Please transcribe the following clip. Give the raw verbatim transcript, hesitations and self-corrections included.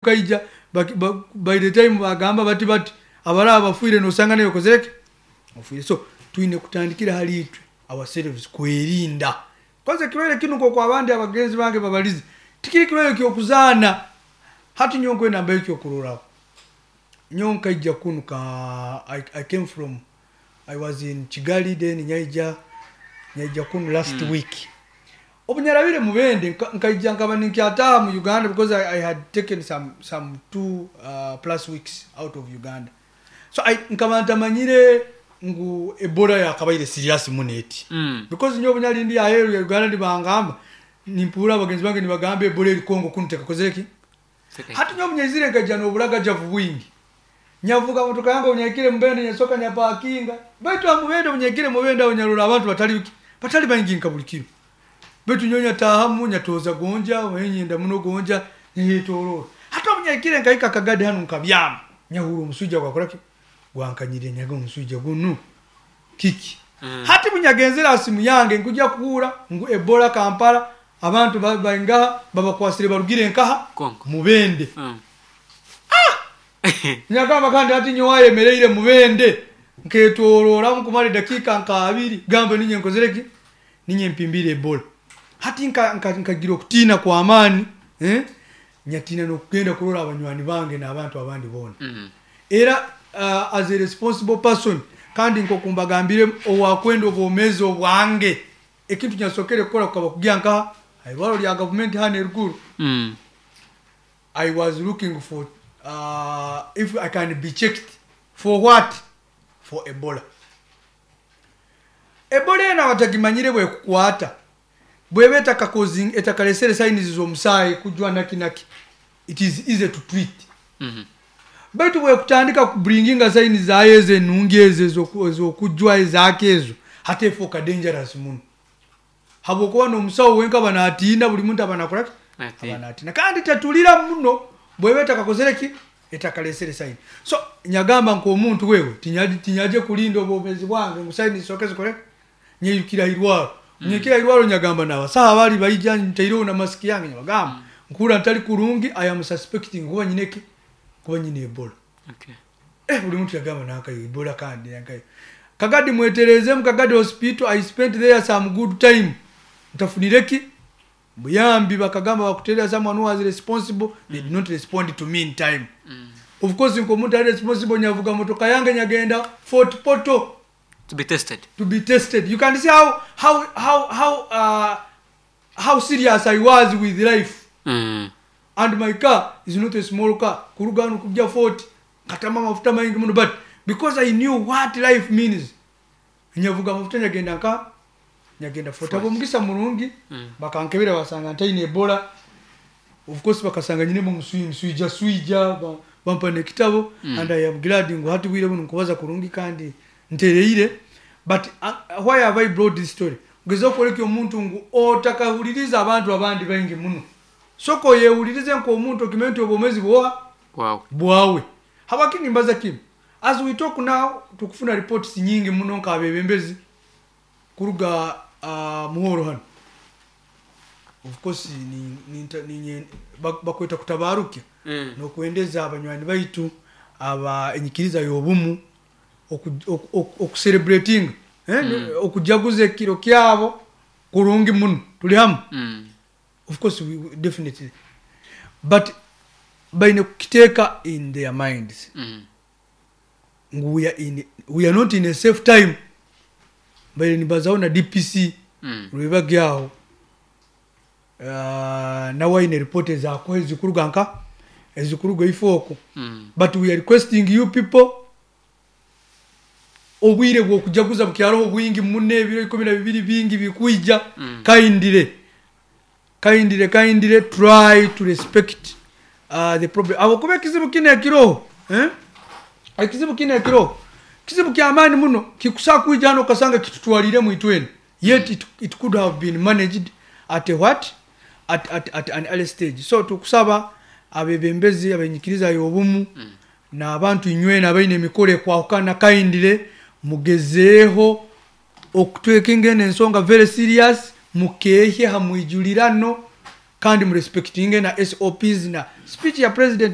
Kaija by the time bagamba bati bati abalaba bafiire, nosanga naye okozereki, ofiire. So twine kutandikira hali itwe ourselves kwerinda. Kwanza ekirwaire kinu, nk'oku abandi abagenzi bange babalize, tikiri kirwaire kyokuzaana. Hati nyowe nkwenda mbahe ekyokurorraho. Nyowe nkaija kunu ka I, I came from, I was in Kigali, then nyaija nyaija kunu last mm. week. Obunyarabire Mubende, nkaija nkaba ninkyataha mu Uganda because I, I had taken some, some two uh, plus weeks out of Uganda. So I, nkaba ntamanyire ngu Ebola yakabaire serious muno eti Mm. because nyowe obunyali ndi aheeru ya Uganda, nibangamba, nimpuura abagenzi bange nibagamba Ebola eri Kongo kunu tekakozere. Hati nyowe bunyaizire, nkaija n'oburagajavu bwingi, nyavuga motoka yange. Obunyahikire Mubende, nyasoka nyapakinga, baitu amubende, obunyahikire Mubende aho, nyarora abantu batali batali baingi nka buli kiro, baitu nyowe nyatahamu, nyatoza gonja wenyenda muno gonja, nyetorora. Hati obunyahikire, nkahika Kagadi hanu, nkabyama, nyahura omuswija gwakoraki, gwankanyire. Nyaga omuswija gunu kiki? Mm. Hati bunyagenzera ha simu yange, nkujja kuhura ngu Ebola Kampala, abantu ba- baingaha babakwasire barugire nkaha? Kongo. Mubende. Mm. Nyagamba kandi hati nyowe ayemereire Mubende, nketororamu kumara edakiika nka abiri, gambe ninye nkozereki, ninye mpimbire Ebola. Hati nka- nka- nkagira okutiina kwamaani, eh? Nyatiina nokugenda kurora abanywani bange n'abantu abandi boona. Mm. Era uh, as a responsible person, kandi nkokumbagambire, owakwenda obwomezi obwange, ekintu nyasokere kukora kukaba kugya nkaha airwaro lya gavumenti hano eruguru. Mm. I was looking for uh, if I can be checked for what? For Ebola. Ebola eno abatagimanyire, bwekukwata, bweba etakakozi, etakalesere signs z'omusaayi kujwa naki naki, it is easy to treat. Mm. Baitu bwekutandika kubringinga signs zayo ezo enungi ezo ezoku- ez'okujwa ezaako ezo, hati efuuka dangerous muno, habwokuba n'omusawo wenka banatiina, buli muntu abanakolaki? Atiina. Abanatiina. Kandi tetulira muno bweba etakakozere ki, etakalesere sign. So nyagamba nk'omuntu wewe tinyaje, tinyaje kulinda obwomezi bwange ngu sign zisooke zikole. Nyeyukira irwaro, nyekira irwaro, nyagamba nabasaha bali baija, ntaireho na masiki yange, nyabagamba nkura ntali kurungi, I am suspecting kuba nyineki, kuba nyine Ebola. Okay. Eh, buli muntu yagamba nankayo Ebola, kandi nankayo Kagadi, mweterezemu Kagadi Hospital. I spent there some good time, ntafunireki buyambi. Bakagamba bakuterera someone who was responsible. They did not respond to me in time. Mm. Of course, nkomuntu ali responsible, nyavuga motoka yange, nyagenda Fort Portal To be tested. To be tested. You can see how how how how uh, how serious I was with life. Mm. And my car is not a small car. Kuruga hano kujja Fort, katama amafuta maingi muno, but because I knew what life means, nyavuga amafuta, nyagenda nka nyagenda Fort. Abo omugisa mulungi, Mm. bakankebera, basanga ntaine Ebola. Of course bakasanga nyinemu omuswi nswija swija, ba- bampa nekitabo. Mm. And I am glad ngu hati bwire buno nkubaza kurungi kandi ntereire. But uh, why have I brought this story? Ngeza okwoleka omuntu ngu otakahuliriza abantu abandi baingi muno, soka oyewulirize nk'omuntu, okimanye nti obwomezi bwoha? Wow. Bwawe. Habwaki nimbaza kinu? As we talk now, tukufuna reports nyingi muno nk'abebembezi kuruga uh, muhoro hano. Of course ni, ni, ni, bak- bakweta kutabarukya Mm. nokwendeza abanywani baitu aba enyikiriza y'obumu oku- oku- oku- okucelebratinga, eh, Mm. okujaguza ekiro kyabo kurungi muno. Tuli hamu? Mm. Of course, we, we, definitely, but baine kukiteeka in their minds Mm. ngu we are, in, we are not in a safe time. Baine nibazaho na D P C Mm. lwebagyaho, uh, nawe aine report ezakuha ezikuruga nka ezikuruga ifooko. Mm. But we are requesting you people, obwire bwokujaguza bukyaloho bwingi muno, ebiro ikumi na bibiri bingi bikwija. Mm. Kindly, kindly, kindly try to respect uh, the problem, awokuba ekizibu kino ekiroho, eh? Ekizibu kino ekiroho kizibu kyamaani muno, kikusaa kwija hano okasanga kitutwaliremu itwena, yet it, it could have been managed at a what, at, at, at an early stage. So tukusaba abebembezi abenyikiriza y'obumu Mm. n'abantu inywena abaine emikoro ekwahukana, kindly mugezeeho okutwekinga eno ensonga very serious, mukeehye hamwijulirano. Kandi murespectinge na S O Ps na speech ya president.